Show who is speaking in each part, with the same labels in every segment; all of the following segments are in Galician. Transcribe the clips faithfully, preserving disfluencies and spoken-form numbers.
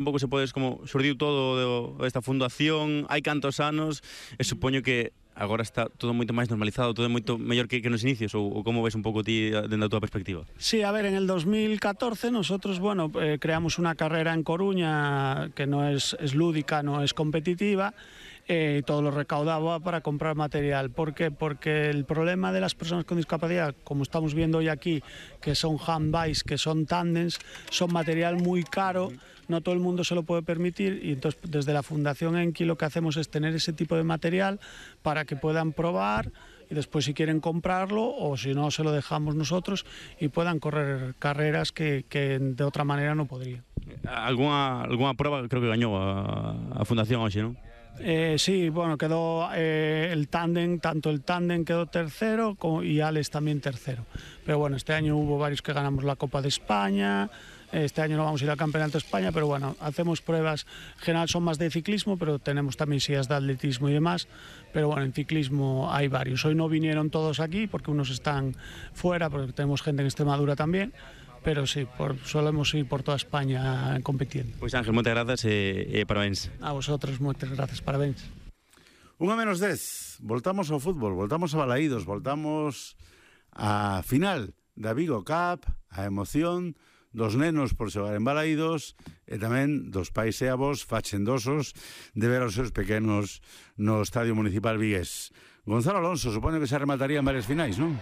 Speaker 1: un pouco se podes como xurdiu todo esta fundación, hai cantos anos, e supoño que agora está todo moito máis normalizado, todo moito mellor que, que nos inicios, ou, ou como ves un pouco ti dentro da tua perspectiva?
Speaker 2: Sí, a ver, en el dos mil catorce nosotros, bueno, eh, creamos una carrera en Coruña que no es, es lúdica, no es competitiva, eh, y todo lo recaudaba para comprar material. ¿Por qué? Porque el problema de las personas con discapacidad, como estamos viendo hoy aquí, que son handbikes, que son tándems, son material muy caro, no todo el mundo se lo puede permitir, y entonces desde la Fundación Enki lo que hacemos es tener ese tipo de material para que puedan probar y después si quieren comprarlo, o si no se lo dejamos nosotros y puedan correr carreras que, que de otra manera no podrían.
Speaker 1: Alguna, alguna prueba creo que gañou a, a Fundación hoxe, non?
Speaker 2: Eh, sí, bueno, quedó eh, el tándem, tanto el tándem quedó tercero como, y Alex también tercero. Pero bueno, este año hubo varios que ganamos la Copa de España, este año no vamos a ir al Campeonato de España, pero bueno, hacemos pruebas, en general son más de ciclismo, pero tenemos también sillas de atletismo y demás, pero bueno, en ciclismo hay varios. Hoy no vinieron todos aquí porque unos están fuera, porque tenemos gente en Extremadura también, pero sí, por, solemos ir por toda España compitiendo.
Speaker 1: Pois Ángel, moitas grazas e, e parabéns.
Speaker 2: A vosotros, moitas grazas, parabéns.
Speaker 3: Unha menos dez, voltamos ao fútbol, voltamos a Balaídos, voltamos a final da Vigo Cup, a emoción dos nenos por xogar en Balaídos e tamén dos pais e avós fachendosos de ver os seus pequenos no Estadio Municipal vigués. Gonzalo Alonso, supoño que se rematarían varias finais, non?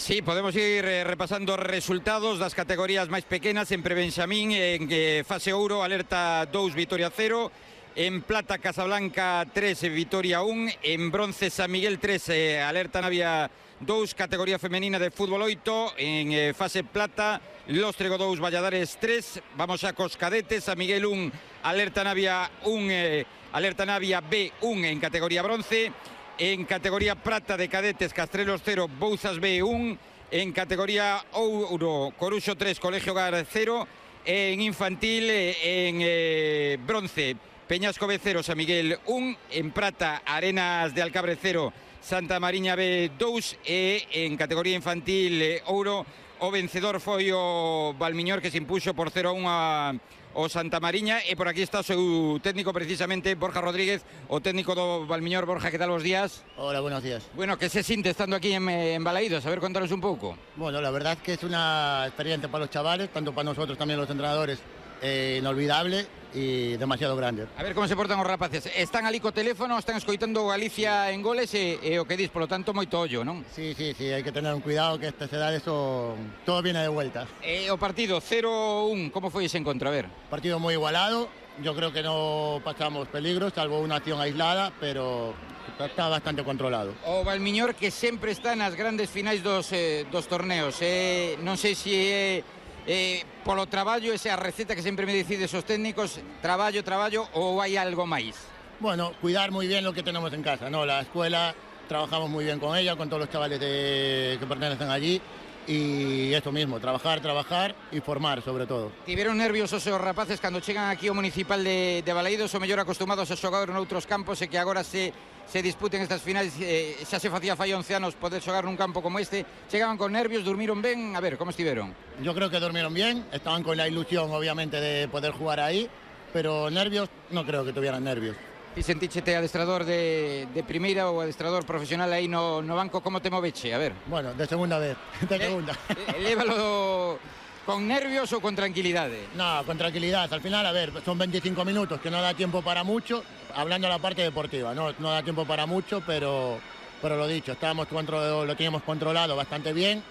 Speaker 4: Sí, podemos ir eh, repasando resultados das categorías máis pequenas. En prebenxamín, en eh, fase ouro, Alerta dous, Vitoria cero. En plata, Casablanca tres, Vitoria un. En bronce, San Miguel tres, eh, Alerta Navia dous, categoría femenina de fútbol oito. En eh, fase plata, Lóstrego dous, Valladares tres. Vamos a cos cadetes, San Miguel un, Alerta Navia un, eh, Alerta Navia B un en categoría bronce. En categoría prata de cadetes, Castrelos cero, Bouzas B un. En categoría ouro, Coruxo tres, Colegio Gar cero. En infantil, en eh, bronce, Peñasco B cero, San Miguel un. En prata, Arenas de Alcabre cero, Santa Mariña B dous. E en categoría infantil eh, ouro, o vencedor foi o Valmiñor, que se impuxo por cero a un a o Santa Mariña. E por aquí está o seu técnico, precisamente, Borja Rodríguez, o técnico do Valmiñor. Borja, ¿qué tal los días?
Speaker 5: Hola, buenos días.
Speaker 4: Bueno, ¿qué se siente estando aquí en, en Balaídos? A ver, contanos un poco.
Speaker 5: Bueno, la verdad es que es una experiencia para los chavales, tanto para nosotros también los entrenadores, eh, inolvidable y demasiado grande.
Speaker 4: A ver como se portan os rapaces. Están ali co teléfono, están escoitando Galicia en goles e, e o que dis, polo tanto, moito ollo, non?
Speaker 5: Sí, sí, sí, hay que tener un cuidado que a estas edades eso, todo viene de vuelta.
Speaker 4: E o partido cero un, como foi ese encontro? A ver.
Speaker 5: Partido muy igualado, yo creo que no pasamos peligro, salvo una acción aislada, pero está bastante controlado.
Speaker 4: O Valmiñor, que sempre está nas grandes finais dos, eh, dos torneos, eh, non sei se é eh, polo traballo, esa receta que sempre me decides os técnicos, traballo, traballo, ou hai algo máis?
Speaker 5: Bueno, cuidar muy bien lo que tenemos en casa, ¿no? La escuela, trabajamos muy bien con ella, con todos los chavales de, que pertenecen allí, y esto mismo, trabajar, trabajar y formar, sobre todo.
Speaker 4: Tiveron nerviosos os rapaces cando chegan aquí ao municipal de, de Balaídos, o mellor acostumados a xogar noutros campos, e que agora se, se disputen estas finais, eh, xa se facía fai once anos poder xogar nun campo como este. Chegaban con nervios, durmiron ben? A ver, como estiveron?
Speaker 5: Yo creo que durmieron bien, estaban con la ilusión obviamente de poder jugar ahí, pero nervios, no creo que tuvieran nervios.
Speaker 4: Ti sentíchete adestrador de, de primeira ou adestrador profesional aí no, no banco, como te moveche? A ver.
Speaker 5: Bueno, de segunda vez, de segunda.
Speaker 4: Eh, lévalo con nervios ou con tranquilidade?
Speaker 5: No, con tranquilidad. Al final, a ver, son veinticinco minutos, que no da tiempo para mucho, hablando de la parte deportiva, no, no da tiempo para mucho, pero, pero lo dicho, estábamos control, lo teníamos controlado bastante bien.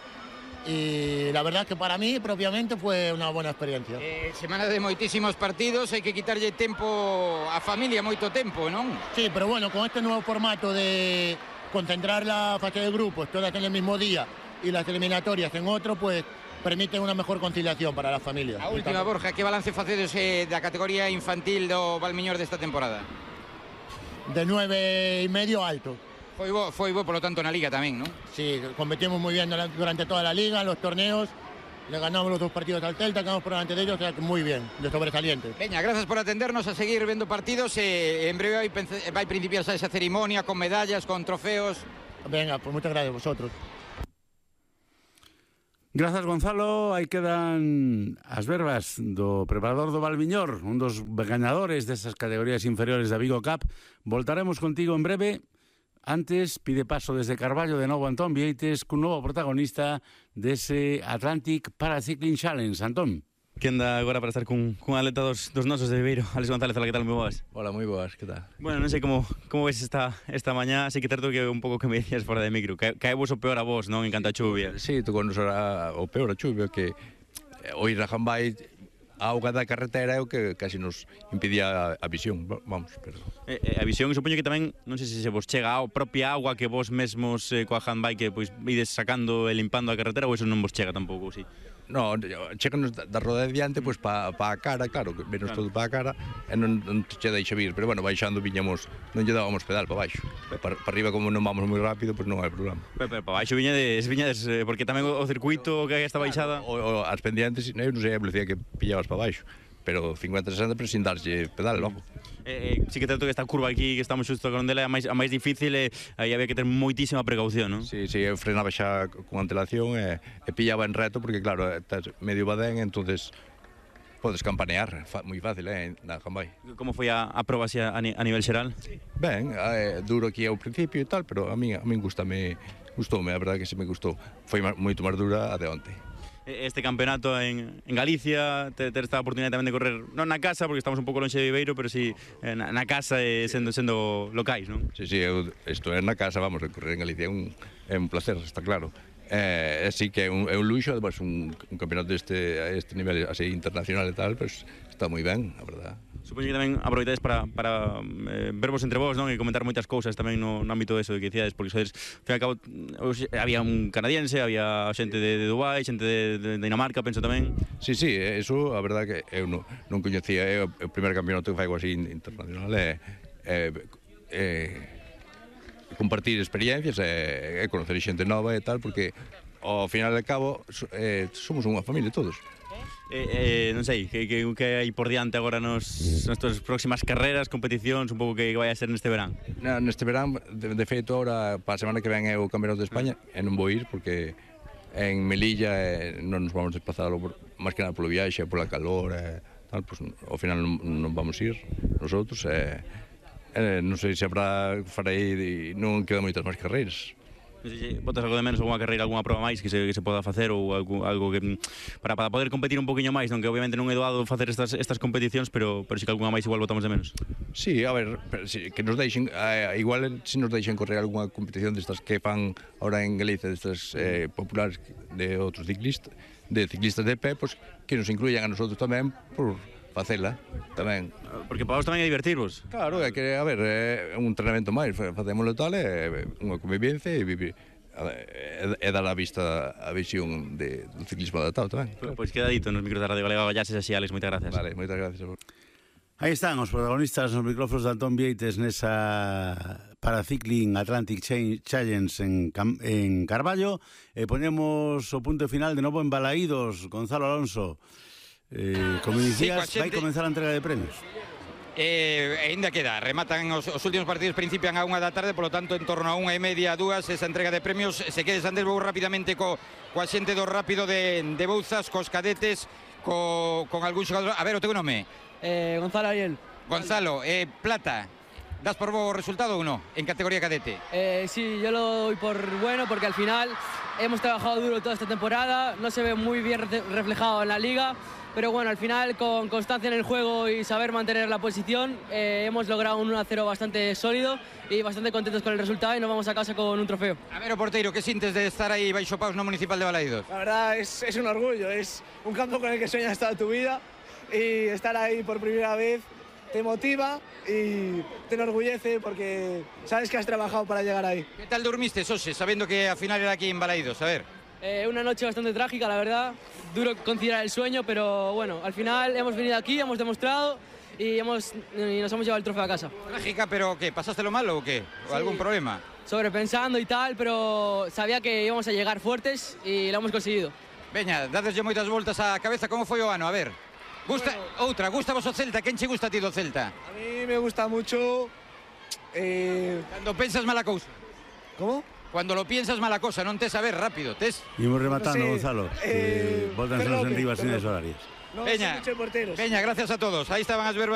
Speaker 5: Y la verdad que para mí propiamente fue una buena experiencia.
Speaker 4: Eh, semana de moitísimos partidos, hai que quitarlle tempo a familia, moito tempo, non?
Speaker 5: Sí, pero bueno, con este nuevo formato de concentrar la fase de grupos todas en el mismo día y las eliminatorias en otro, pues permite una mejor conciliación para las familias.
Speaker 4: A última, Borja, que balance facedes eh, da categoría infantil do Valmiñor desta temporada?
Speaker 5: De nueve y medio alto.
Speaker 4: Foi bo, foi bo, polo tanto, na Liga tamén, non?
Speaker 5: Sí, competimos muy bien durante toda la Liga, los torneos, le ganamos los dos partidos al Celta, quedamos por delante de ellos, o sea que muy bien, de sobresaliente.
Speaker 4: Veña, gracias por atendernos, a seguir vendo partidos, e en breve vai, vai principiar esa ceremonia con medallas, con trofeos.
Speaker 5: Venga, pues muchas gracias a vosotros.
Speaker 3: Grazas, Gonzalo. Aí quedan as verbas do preparador do Valviñor, un dos gañadores desas categorías inferiores da Vigo Cup. Voltaremos contigo en breve. Antes, pide paso desde Carballo de novo Antón Vieites cun novo protagonista dese Atlantic Paracycling Challenge. Antón.
Speaker 1: Que anda agora para estar cun, cun atleta dos, dos nosos de Viveiro. Alex González, hola, que tal? Moi boas.
Speaker 6: Hola, moi boas, que tal?
Speaker 1: Bueno, non sei como, como ves esta, esta mañá, así que certo que un pouco que me dicías fora de micro. Cae, cae vos o peor a vos, non? En canto a chuvia.
Speaker 6: Sí, tocou nos o peor a chuvia, que o ir a Jambay, a auga da carretera é o que casi nos impedía a visión, vamos, pero...
Speaker 1: Eh, eh, a visión, supoño que tamén, non sei se se vos chega a propia agua que vos mesmos eh, coa handbike que pois ides sacando e limpando a carretera, ou eso non vos chega tampouco, sí?
Speaker 6: No, cheganos da roda de diante, pois pa, pa a cara, claro, que venos claro. todo pa a cara, e non, non che deixa vir, pero bueno, baixando viñamos, non lle dábamos pedal para baixo. Para, para arriba, como non vamos moi rápido, pois non hai problema.
Speaker 1: Pero, pero para baixo viñades, viñades, eh, porque tamén o circuito que hai esta baixada...
Speaker 6: Claro, o, o, as pendientes, eu non sei a velocidade que pillabas para baixo, pero cincuenta sesenta, pero sin darlle pedal logo.
Speaker 1: Eh, eh, sí que trato que esta curva aquí que estamos xusto con ela é a máis, a máis difícil e aí había que ter moitísima precaución, non?
Speaker 6: Sí, sí, eu frenaba xa con antelación e, e pillaba en reto porque claro, estás medio badén, entonces podes campanear, fa, moi fácil, eh, na Jambay.
Speaker 1: Como foi a, a proba así a, a nivel xeral?
Speaker 6: Ben, é duro aquí ao principio e tal, pero a min, a min gustame, gustoume, a verdade que se me gustou. Foi moito máis dura a de onte.
Speaker 1: Este campeonato en, en Galicia, ter, ter esta oportunidade tamén de correr, non na casa, porque estamos un pouco lonxe de Viveiro, pero si sí, na, na casa e sendo, sendo locais, non?
Speaker 6: Sí, sí, eu, isto é na casa, vamos, a correr en Galicia é un, é un placer, está claro. É, sí que é un, é un luxo, además, un, un campeonato deste, a este nivel así internacional e tal, pues, está moi ben, a verdad.
Speaker 1: Supoño que tamén aproveitades para, para eh, vervos entre vos, non? E comentar moitas cousas tamén no, no ámbito de eso que dicíades, porque sodes, ao fin e ao cabo, había un canadiense, había xente de, de Dubai, xente de, de Dinamarca, penso tamén.
Speaker 6: Sí, sí, eso, a verdad que eu non, non coñecía, é o primeiro campeonato que faigo así internacional, é, é, é compartir experiencias e, e conocer xente nova e tal, porque ao final de cabo eh, somos unha familia todos.
Speaker 1: Eh, eh, non sei, que, que, que hai por diante agora nos nestas próximas carreras, competicións, un pouco que vai a ser neste verán?
Speaker 6: Na, neste verán, de, de feito, ahora, para a semana que ven é o Campeonato de España, e non vou ir porque en Melilla eh, non nos vamos desplazar máis que nada polo viaxe, pola calor, e tal, pues, ao final non, non vamos ir nosotros, e eh, non sei se habrá, farei, non quedan moitas máis carreiras.
Speaker 1: Non sei se botas algo de menos, alguna carreira, alguna proba máis que se, que se poda facer ou algo, algo que para, para poder competir un poquinho máis, non que obviamente non é doado facer estas, estas competicións, pero, pero si que alguna máis igual botamos de menos.
Speaker 6: Sí, a ver, pero, si, que nos deixen, eh, igual se si nos deixen correr algunha competición destas que fan ahora en Galicia, destas eh, populares de outros ciclistas, de ciclistas de pé, pues, que nos incluyan a nosotros tamén por facela tamén.
Speaker 1: Porque para vos tamén é divertirvos.
Speaker 6: Claro, é que, a ver, é un entrenamento máis, facémoslo tal, é unha convivencia e vivir e dar a vista a visión de, do ciclismo adaptado tamén.
Speaker 1: Pois pues quedadito nos micros da Radio Galega Gallases así, Alex, moitas gracias.
Speaker 6: Vale, moitas gracias.
Speaker 3: Aí están os protagonistas nos micrófonos de Antón Vieites nesa Paracycling Atlantic Challenge en, Cam en Carballo e ponemos o punto final de novo en Balaídos. Gonzalo Alonso, eh, como dicías, sí, vai comenzar a entrega de premios.
Speaker 4: Eh, ainda queda, rematan os, os últimos partidos, principian a unha da tarde, polo tanto en torno a unha e media, dúas, esa entrega de premios. Se quedes, Andrés, vou rapidamente co, coa xente do rápido de, de Bouzas, cos cadetes, co, con algún xogador. A ver, o teu nome?
Speaker 7: Eh, Gonzalo Ariel.
Speaker 4: Gonzalo, eh, Plata, das por bo resultado ou no, en categoría cadete?
Speaker 7: Eh, sí, yo lo doy por bueno porque al final hemos trabajado duro toda esta temporada, no se ve muy bien reflejado en la liga, pero bueno, al final con constancia en el juego y saber mantener la posición eh, hemos logrado un uno a cero bastante sólido y bastante contentos con el resultado y nos vamos a casa con un trofeo.
Speaker 4: A ver, o porteiro, que sientes de estar aí baixo paus no Municipal de Balaídos?
Speaker 8: La verdad es, es un orgullo, es un campo con el que sueñas toda tu vida y estar ahí por primera vez te motiva y te enorgullece porque sabes que has trabajado para llegar ahí.
Speaker 4: ¿Qué tal dormiste, Sose, sabiendo que al final era aquí en Balaídos? A ver.
Speaker 7: Eh, una noche bastante trágica, la verdad. Duro conciliar el sueño, pero bueno, al final hemos venido aquí, hemos demostrado y, hemos, y nos hemos llevado el trofeo a casa.
Speaker 4: Trágica, pero ¿qué? ¿Pasaste lo malo o qué? ¿O sí, algún problema?
Speaker 7: Sobrepensando y tal, pero sabía que íbamos a llegar fuertes y lo hemos conseguido.
Speaker 4: Veña, dadeslle moitas voltas á cabeza, como foi o ano? A ver. Gusta, bueno, outra, gusta vos o Celta? Quen che gusta a ti do Celta?
Speaker 8: A mí me gusta mucho... Eh...
Speaker 4: Cando pensas mala cousa.
Speaker 8: ¿Cómo?
Speaker 4: Cuando lo piensas, mala cosa, non tes a ver rápido, tes.
Speaker 3: Imos rematando,
Speaker 8: Sí,
Speaker 3: Gonzalo.
Speaker 8: eh,
Speaker 3: Eh, Voltanse en
Speaker 8: Ferroque,
Speaker 3: riba sin
Speaker 8: Ferroque.
Speaker 3: horarias.
Speaker 8: No,
Speaker 4: Peña,
Speaker 8: son muchos porteros.
Speaker 4: Peña, gracias a todos. Ahí estaban as verbas